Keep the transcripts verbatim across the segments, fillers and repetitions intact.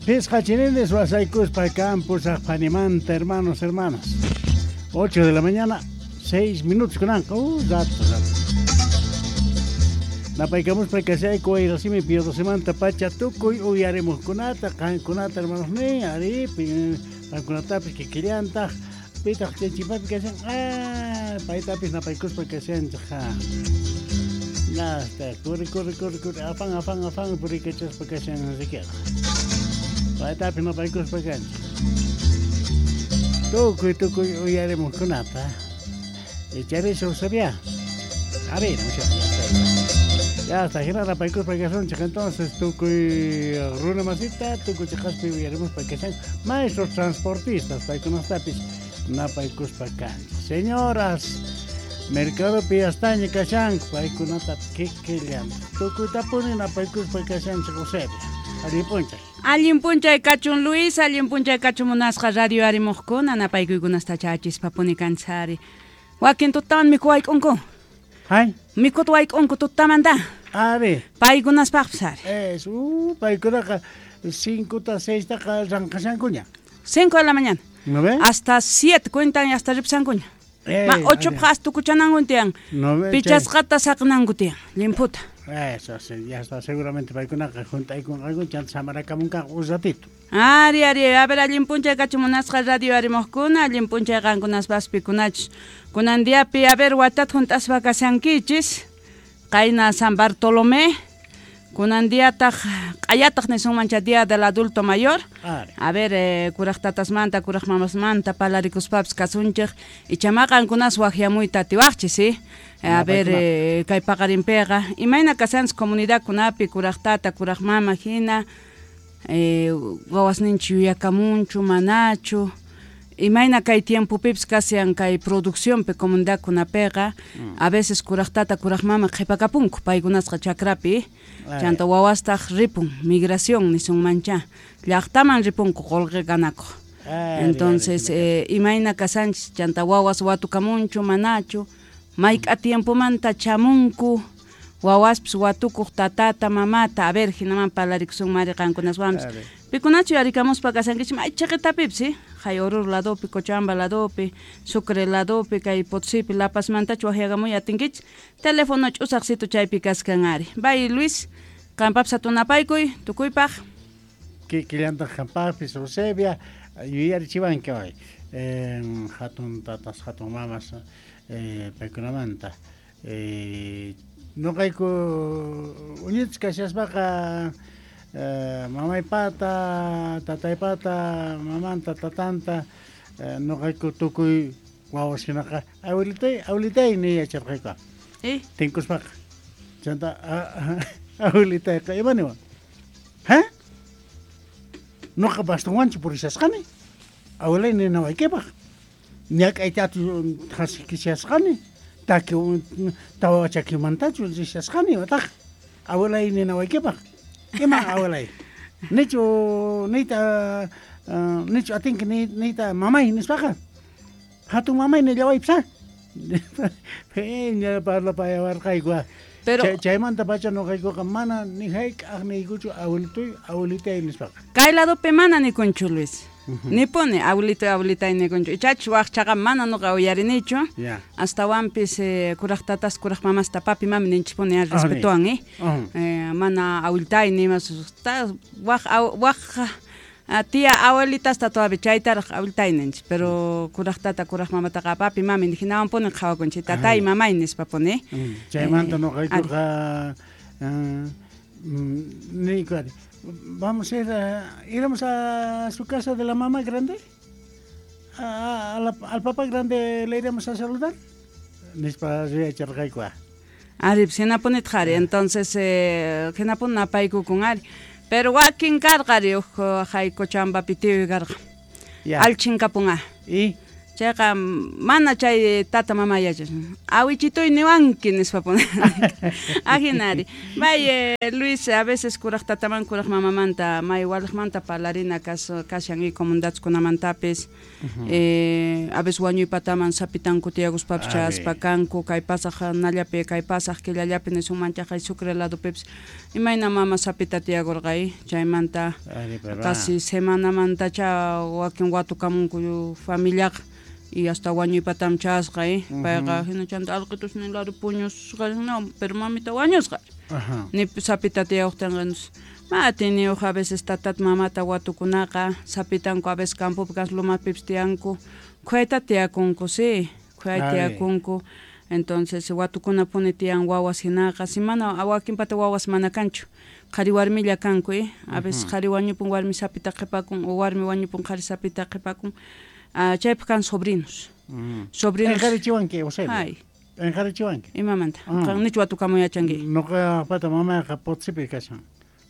Pisqa chininis wasaykuspa campus panimanta, hermanos, hermanas. ocho de la mañana, seis minutos kunanqa. Uh, rato, rato. Napaykamuspa kasayku wayrasimi piyodosimanta pacha tukuy uyarimuqkunata, qankunata hermanos ni, ari, qankunatapis kikillantaq, pitaq chay kashan, ah, paytapis napaykuspa kashanchik, ha. Nasta, corre, corre, corre, corre, afán, afán, afán, purikachaspa kashan rikiqa. Paytapis napaykuspa kanchik. Tukuy, tukuy uyarimuqkunata. Echarisha usabia. A ver, ya está. Ya está, hina napaykuspa kasunchik, entonces tukuy runa masita, tukuy chiqaspi uyarimuspa kashan, maestros transportistas, paykunastapis napaykuspa kanchik. Señoras, mercadopi yastaña kashanku, paykunata kikillan. Tukuytapuni napaykuspa kashanchik Eusebia. Allin p'unchay. Allin p'unchay kachun Luis, allin p'unchay kachun munasqa radio arimuqkuna, napaykuykunasta chachispa puni kanchari. Wakin tutawan mikhu wayk'unku. Hay. Mikhuta wayk'unku tutamanta. Ari. Paykunaspaqpis ari. Es, uh, paykunaqa cinco ta seis taqa ranqashankuña. Cinco de la mañana. ¿No ve? Hasta siete cuentan y hasta ripsankuña. Eh, Ma ocho ari. paq tukuchananku tiyan. ¿No ve? Pichasqata saqnanku tiyan, limputa. Eso sí, ya está, seguramente paykunaqa juntaykunqaku chanta samarakamunqaku un ratito. Ari, ari, a ver, allin p'unchay kachun munasqa radio arimuqkuna, allin p'unchay qankunaspas pikunachus. Kunan diapi, a ver, watata junt'aspa kashankichis, qayna San Bartolomé, kunan diataq, q'ayataq nisunmancha Día del Adulto Mayor. Ari. A ver, eh, kuraq tatasmanta, kuraq mamasmanta parlarikuspapis kasunchik, ichama qankunas waqyamuyta atiwaqchis, ¿sí? Eh, a ver, eh, kay paqarinpiqa, imayna kashanchis comunidadkunapi kuraq tata, kuraq mama hina, eh, wawasninchik yuyakamunchu, manachu, imayna kay tiempopipis kashan kay produccionpi comunidadkunapiqa, a veces kuraq tata, kuraq mama qhipakapunku paykunasqa chakrapi, Ari. chanta wawastaq ripun, migración nisunmancha, llaqtaman ripunku qullqi ganakuq. Ari, Entonces, ari, eh, imayna kashanchis chanta wawas watukamunchu, manachu, mayk'a tiempomanta chamunku, wawaspis watukuq tatata, mamata, a ver, hinaman parlarikusun mari qankunaswanpis. Ari. Pikunachu yarikamuspa kashankichik may chiqitapipis, ¿sí? Hay Oruro ladopi, Cochabamba ladopi, Sucre ladopi, kay Potosipi, La Pazmantachu waqyakamuy atinkichik, teléfono ch'usaqsitu chaypi kaskan ari. Bay Luis, qampapis hatunapaykuy, tukuypaq. Kikillantaq qampaqpis Eusebia, yuyarichiwanki hoy. Eh, hatun tatas, hatun mamas, eh, paykunamanta. Eh, noqayku uñichis kashaspaqa eh, mamaypata, tataypata, mamanta, tatanta, eh, noqayku tukuy wawas hinaqa abuelitay, abuelitay ni yacharqayku. Eh? Tinkuspaqa. Chanta abuelitayqa ima niwan? Ha? Noqa bastonwanchu purishasqani. Abuelay ninawaykipaq. Ñak'aytatu hasikishasqani. Taki tawa chakimantachu rishasqani imataq. Abuelay ninawaykipaq. Ima abuelay? Nichu niyta uh, nichu atinki niyta mamay nispaqa. Hatun mamay nillawaypis ha. Phiña parlapayawarqayku. Pero Chay, chaymanta pacha noqaykuqa mana ni hayk'aq niykuchu abuelitoy, abuelitay nispaqa. Kay ladopi mana nikunchu Luis. Nipuni abuelito abuelitay nikunchu. Ichachu waqchaqa mana nuqa uyarinichu. Ya. Astawanpis eh, kuraq tatas, kuraq mamasta papi mami ninchikpuni ari respetuwan, eh. Uh-huh. Eh, mana abuelitay nimas ta waq waq ah, tía abuelitasta todavía chaytaraq abuelitay ninchik, pero kuraq tata, kuraq mamataqa papi mami hinawanpuni qhawakunchik, tatay, mamay nispapuni. Mm, Chaymanta Eh, noqaykuqa uh, mm, niyku ari, vamos a ir a, iremos a su casa de la mamá grande. A, a la, al papá grande le iremos a saludar. Nispa yacharqayku. Ari, hinapunitaq ari, entonces eh, hinapuni napaykukun ari. Pero wakin karqa ari huk hay Cochabambapi tiyuy karqa. Ya. Allchinkapun Y Chayqa mana chay tata mama yachas. Awichituy niwanki nispa pone. Ajinari. May Luis a veces kuraj tataman kuraj mamamanta may walajmanta parlarina kas kashan y comunidadkunamantapis. Eh a veces wañuypataman sapitanku tiyakuspapis chaspa kanku kay pasaj nallapi kay pasaj killallapi nisunman chaqay Sucre ladopipis imayna mama sapita tiyakurqay chaymanta casi semanamanta cha wakin watukamunku familiaqa y hasta wañuypatam chasqa eh payqa hina chanta alqitusnin lado puñusqa no pero mamita wañusqa ni sapita tiyawqtinqa ma atiniyuq a veces tatat mamata watukunaqa sapitanku a veces campopi kas lumapipis tiyanku khuyayta tiyakunku sí khuyayta tiyakunku entonces watukunapuni tiyan wawas hinaqa si mana wakinpata wawas mana kanchu qhari warmilla kanku eh a veces qhari wañupun warmi sapita qhipakun o warmi wañupun qhari sapita qhipakun. Ah, chaypi kan sobrinos. Mm. Sobrinos. Enjarichiwanki, Eusebio. Ay. Enjarichiwanki. Imamanta. Qan nichu watukamuy yachanki. Noqa pata mamayqa Potosipi kashan.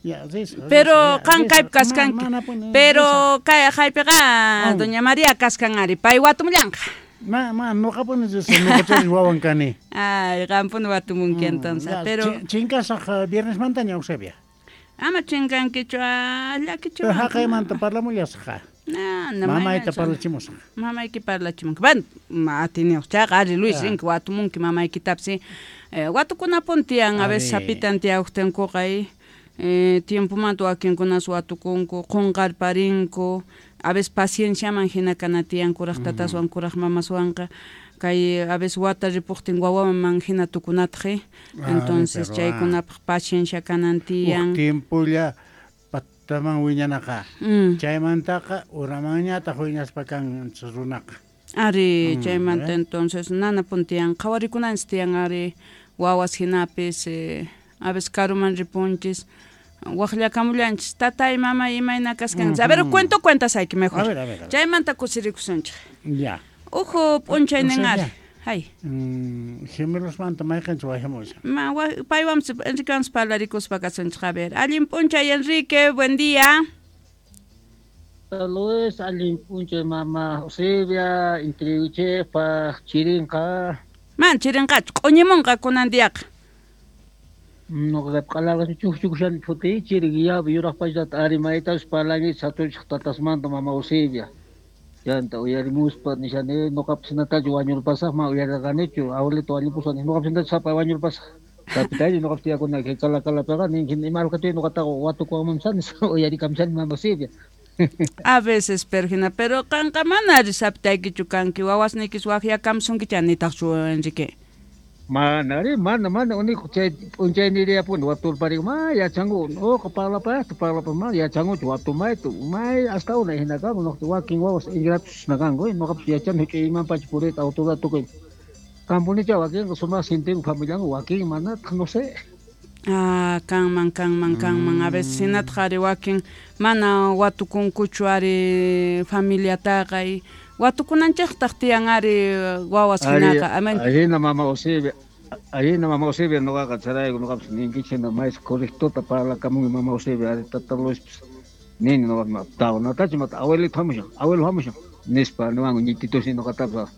Ya, riso. Pero qan kaypi kaskanki. Pero kay haypiqa doña María kaskan ari. Pay watumullanqa. Ma, ma, noqapuni riso, noqachari wawan kani. Ay, qampuni watumunki entonces, pero chinkasaq viernesmantaña Eusebia. Ama chinkankichu, llakichu. Pero haqaymanta parlamullasqa. No, no, mamayta parlachimusaq. Mamayki parlachimunki. Bueno, atiniyuq chayqa ari Luis rinki watumunki mamaykitapis eh, watukunapun tiyan a veces sapitan tiyawqtinkuqa eh, tiempomanta wakinkunas watukunku qunqarparinku a veces pacienciaman hina kana tiyan kuraq tataswan kuraq mamaswanqa kay a veces wata ripuqtin wawaman hina tukunataq entonces chaykunapaq paciencia kanan tiyan. Uq tiempolla taman wiñanaqa. Chaymantaqa uramanñataq wiñaspa kan runaqa. Ari chaymanta entonces nana puntiyan qhawarikunanchis tiyan ari wawas hinapis eh, a veces karuman ripunchis waqllakamullanchis tatay mamay imayna kaskanchis. A ver cuento cuentas ayki mejor. A ver, a ver, a ver. Chaymanta kusirikusunchik. Ya. Uhu p'unchaynin ari. Hay. Mm, gemelosmanta mayqinchu wajamushan. Ma paywanpas Enriquewanpas parlarikuspa kasunchik. A ver, allin p'unchay Enrique, buen día. Saludos, allin p'unchay mama Eusebia, intriwichejpaq chirinqa. Man chirinqachu, q'uñimunqa kunan diaqa. Noqa q'alarqa chukchukushani phutiy chirin yuraq pachata arimaytas parlanki satunchik tatasmanta mama Eusebia. Chanta uyarimuspa nishani noqapis hinatachu wañurpasaq ma uyarirqanichu abuelito wañupusqa noqapis hinatachu sapay wañurpasaq sapitayri noqapis tiyakuna kala kalapiqa ninkin ima alqatuy noqataqa watukuwanmanmsani uyarikamshani mama Eusebia. A veces perjina pero qanqa mana ari sapitaykichu kanki wawasniykis waqyakamsunkicha nitaqchu Enrique. Mana ari mana mana uniku chay p'unchayniriyapuni waturpariku ma yachanku uqa parlapayaqta parlapa ma yachankuchu watumayta may hasta unay hina kanku noqta wakin wawas ingratos kanku noqapis yachani huch'uy imanpacha puriyta autoridad tukuy kampunicha wakinqa sumaq sintinku familianku wakin manataq no sé. Ah, kanman kanman kanman a veces hinataq ari wakin mana watukunkuchu ari familiataqa y watukunanchiktaj tiyan ari wawas hinaqa. Ahina mama Eusebia, ahina mama Eusebia noqaqa charayku noqapis ninkichik hina mays correctota parlakamunki mama Eusebia ari tata Luispis nini noqa tawnatachu mata abuelito hamushan abuelo hamushan nispa niwanku ñititusnin noqatapis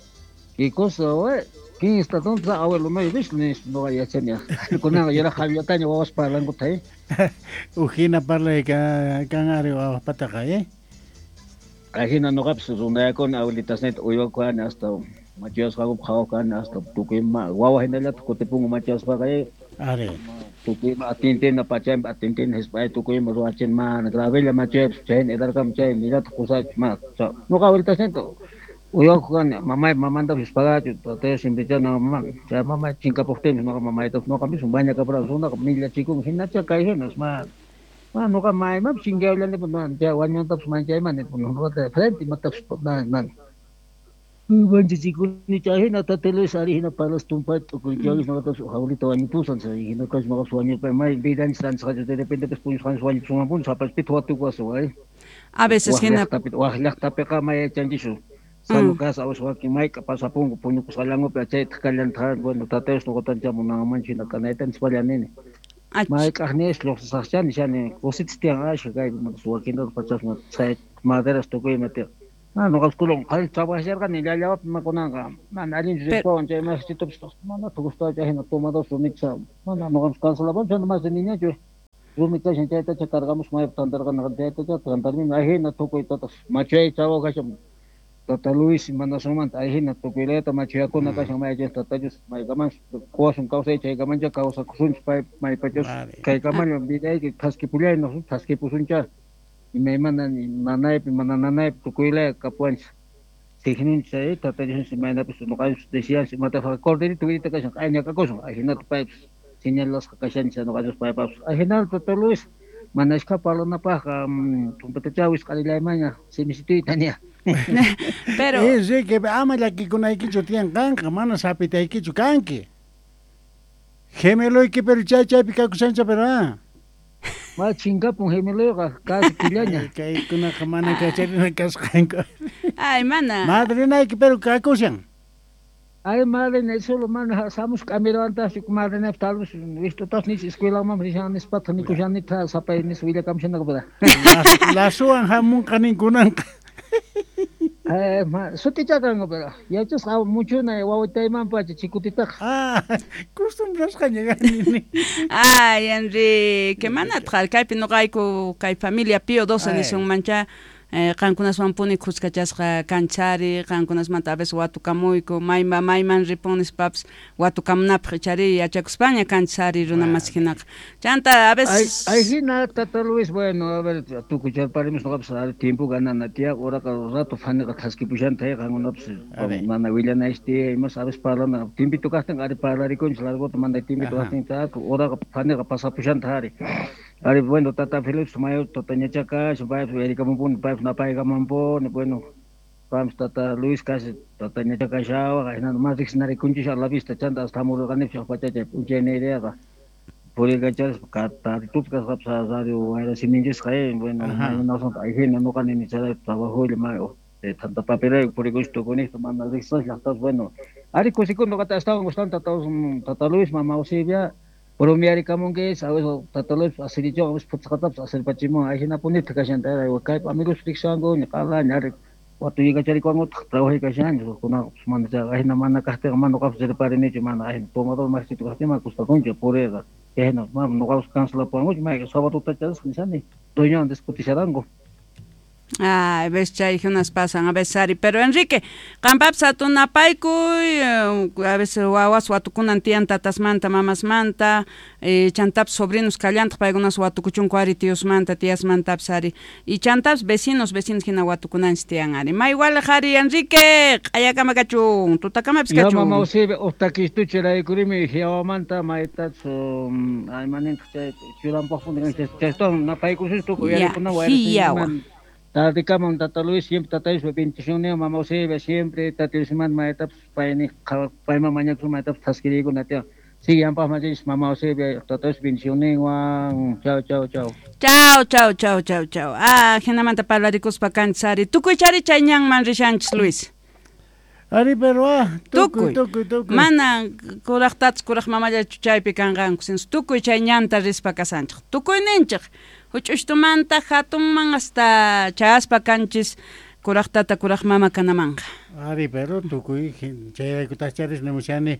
qué cosa we ¿quién está tonto? Abuelo no vis nispa noqa yachani kunanqa yuraq qallataña wawas parlankuta eh Ujina parlay kan ari wawaspataqa eh Ajina noqapis runayakuni abuelitasniyta uywakani hasta machuyasqakupi qhawakani hasta tukuy ima wawa hinallataq kutipunku machuyaspaqa ari tukuy ima atintina pachaypi atintina hisp'ay tukuy ima ruwachina mana gravella machuyapis chayna edarkama chay millataq kusachis ma noqa abuelitasniyta uywakuq kani mamay mamantapis hisp'agachu tatay simpichana mama chay mamay chinkapuqtinpis noqa mamaytapas noqa mismo bañakapurani runaqa millachikunku hinacha kay hinas ma Ma noqa maymapis chinkayullanipas chay wañuntapas manchaymani noqata frente imatapas man manchachikuni chay hina tata Luis ari hina parlas tumpayta t'ukurchawis noqatapas abuelita wañupusan chay hinatapas noqapas wañurpay may vidanchis rantisqachu de repente puñusqanchis wañupusunmanpuni sapas pitaq watukuwasun ay. A veces hina waq llaqtapiqa may yachanchischu sano casa a veces wakin mayk'a pasapunku puñukusqallankupi chaytaq kallantaq bueno tata Dios noqatancha munanmanchu hina kanayta nispalla nini. Mayk'aqniyas lluqsisaqchani shani kusitas tiyan ashka kay wakintapas pachasma chay maderas tukuy ima tiyan. Ah, noqa escuela qhari trabajarqani llallawapi makunanqa mana allinchu ripawan chay masitupis mana gustachu hina tomados rumicha mana noqapas cancelapan mas niñachu rumi kashan chaytacha cargamos maypi tantarqanaqa chaytacha tantarmi ahina tukuy tatas machay chawa kashan Tata Luis manasumanta ahina tukuylayta machayakuna kashan mayachay tatachus maykaman quwasun kawsay chaykamancha kawsakusunchis pay maypachus kaykamalla vidayki thaskipullayna thaskipusuncha imaymana nanaypi mana nanaypi tukuylaya kapuwanchis signinchis tatachus imaynapis noqanchis decianchis imataqa corderito vidita kashan q'ayñakakusun ahinata paypis señalasqa kashanchis noqanchis paypapis ahinata Tata Luis mana ashkha parlanapaqqa tumpatacha wisq'arillaymanña simisituyta ña. Pero Enrique, ama llakikunaykichu tiyan qanqa mana sapitaykichu kanki gemeloyki pero chay chaypi kakushancha pero ah ma chinkapun gemeloyqa casi killaña kaykunaqa mana kacharina kasqanku ay mana madrinayki pero kakushan ay madrina solo mana samus k'amirawantaqchu madrinaypi talvez wistutas nis escuelaman rishan nispataq nikushanita sapay nis willakamushanaka pero lasuwan hamunqa ninkunanqa Eh, ma sutichakanku pero yachasqa muchuna wawitaymanpacha chikutitaqa. Ah, costumbrasqaña kani. Ay, Enrique, manataq kaypi noqayku kay familia Pío doce nisunmancha eh, qankunaswanpuni khuskachasqa kanchari, qankunasmanta a veces watukamuyku, mayma mayman ripun nispapis watukamunapaq ichari yachakuspaña kanchari runa masi hinaqa. Chanta a veces ay hina Tata Luis, bueno, a ver, tukuy charparimus noqapis ari tiempo ganana tiya, uraqa rato faniqa thaskipushanta qankunapis mana willanaychis tiya, imas a veces parlana, tiempito kaqtin ari parlarikunchis largota mana tiempito kaqtin uraqa faniqa pasapushanta ari. Ari, bueno, Tata Félix, mayo, Tata Ñachacash, paypis uyarikamunpuni, paypis napaykamunpuni, bueno, vamos Tata Luis casi, Tata Ñachacashawa, hinata mas riqsinarikunchis a la vista, chanta hasta hamurqanipis pachachay p'unchayniyriyaqa puriykacharispa taritupi kasqapis radio wayrasiminchisqa, bueno, maymanasmanta ahina noqa nini chayrayku trabajoylla may tanta papelayku purikunchis tukuniyta mana riqsisqas llaqtapas, bueno, ari kusikuni noqata astawan gustan Tata, Tata Luis, Mama Eusebia, bromearikamunkichis, a veces Tata Luis asirichiwan, a veces phutisqatapis asirpachimuwan, ahinapunitaq kashanta, kaypi amigos riqsiwanku q'alaña ari watuyykacharikuwankutaq trabajaykashanchis kunaqa mana chay ahina mana kaqtinqa mana noqapis riparinichu mana ahina tomador masito kaqtin mana gustakunchu puriyqa chayhina mana noqapis cancelapuwankuchu mayqa sábado chasqa nishani dueñowan discutisharanku. Ah, a veces chay unas pasan, a veces ari, pero Enrique, qampapis atunapaykuy, a veces wawas watukunan tiyan tatasmanta, mamasmanta, eh, chantapis sobrinos kallantaq paykunas watukuchunku ari tiosmanta, tiasmantapis ari, y chantapis vecinos, vecinos hina watukunanchis tiyan ari. Ma igual ari, Enrique, q'ayakama kachun, tutakamapis kachun. Ya, mama Eusebia, uqtakistuchi raykurimi hiawamanta maytachu, aymanintaq chay churanpaqpuni chaytawan napaykusunchis tukuy uyarikuna Hiawa. Tardikaman Tata Luis, siempre Tata Luis, bendición, Mama Eusebia, siempre Tata Luis, maytapas payni payman mañakusun maytapas thaskiriykuna tiyan. Sigue ampaq machis Mama Eusebia, Tata Luis, bendicionninwan. Chao, chao, chao. Chao, chao, chao, chao, chao. Ah, hinamanta parlarikuspa kanchis ari. Tukuy chari chay ñanman rishanchis, Luis. Ari, pero ah, tukuy, tukuy, tukuy. Mana kuraq tatas kuraq mamallachu chaypi kanqanku, sinus tukuy chay ñanta rispa kasanchik. Tukuy ninchik. Huch'ushtumanta hatunman hasta chayaspa kanchis kuraq tata kuraq mama kanamanqa. Ari, pero tukuy chayraykutaq charis nimushani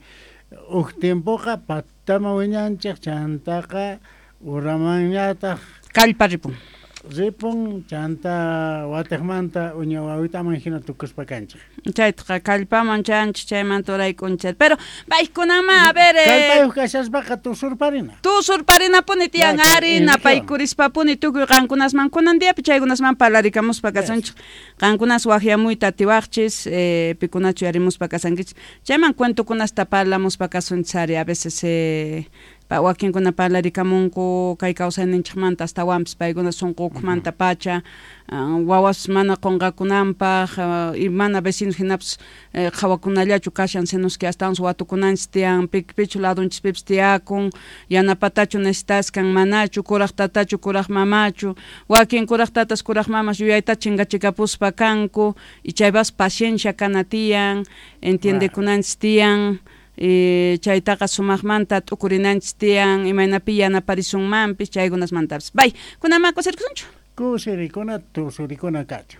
huk tiempoqa patama wiñanchik chantaqa uramanñataq kallpa ripun. Ripun chanta watiqmanta uña wawitaman hina tukuspa kanchik. Chaytaqa kallpaman chanchik chaymanta uraykunchik. Pero paykunama a ver eh, kallpayuq kashaspaqa tusurparina. Tusurparinapuni tiyan ari napaykurishpapuni tukuy qankunasman kunan diapi chaykunasman parlarikamuspa kasunchik. Qankunas waqyamuyta atiwaqchis eh, pikunachu yarimuspa kasankichis. Chayman cuentokunasta parlamuspa kasunchis ari a veces eh, wakinkuna parlarikamunku kay kawsayninchikmanta astawanpis paykuna sunqukumanta pacha wawas mana qunqakunanpaq y mana vecinos hinapis qhawakunallachu kashan sinuski astawansi watukunanchis tiyan pichu ladunchispipis tiyakun yanapatachu necesitaskan manachu kuraq tatachu kuraq mamachu wakin kuraq tatas kuraq mamas yuyayta chinkachikapuspa kanku y chaypas paciencia kana tiyan entiendekunanchis tiyan Eh, chaytaqa sumaqmanta t'ukurinanchis tiyan imaynapi yanaparisunmanpis chaykunasmantapis. Bay, kunama kusirikusunchu? Kusirikuna tusurikuna kachun.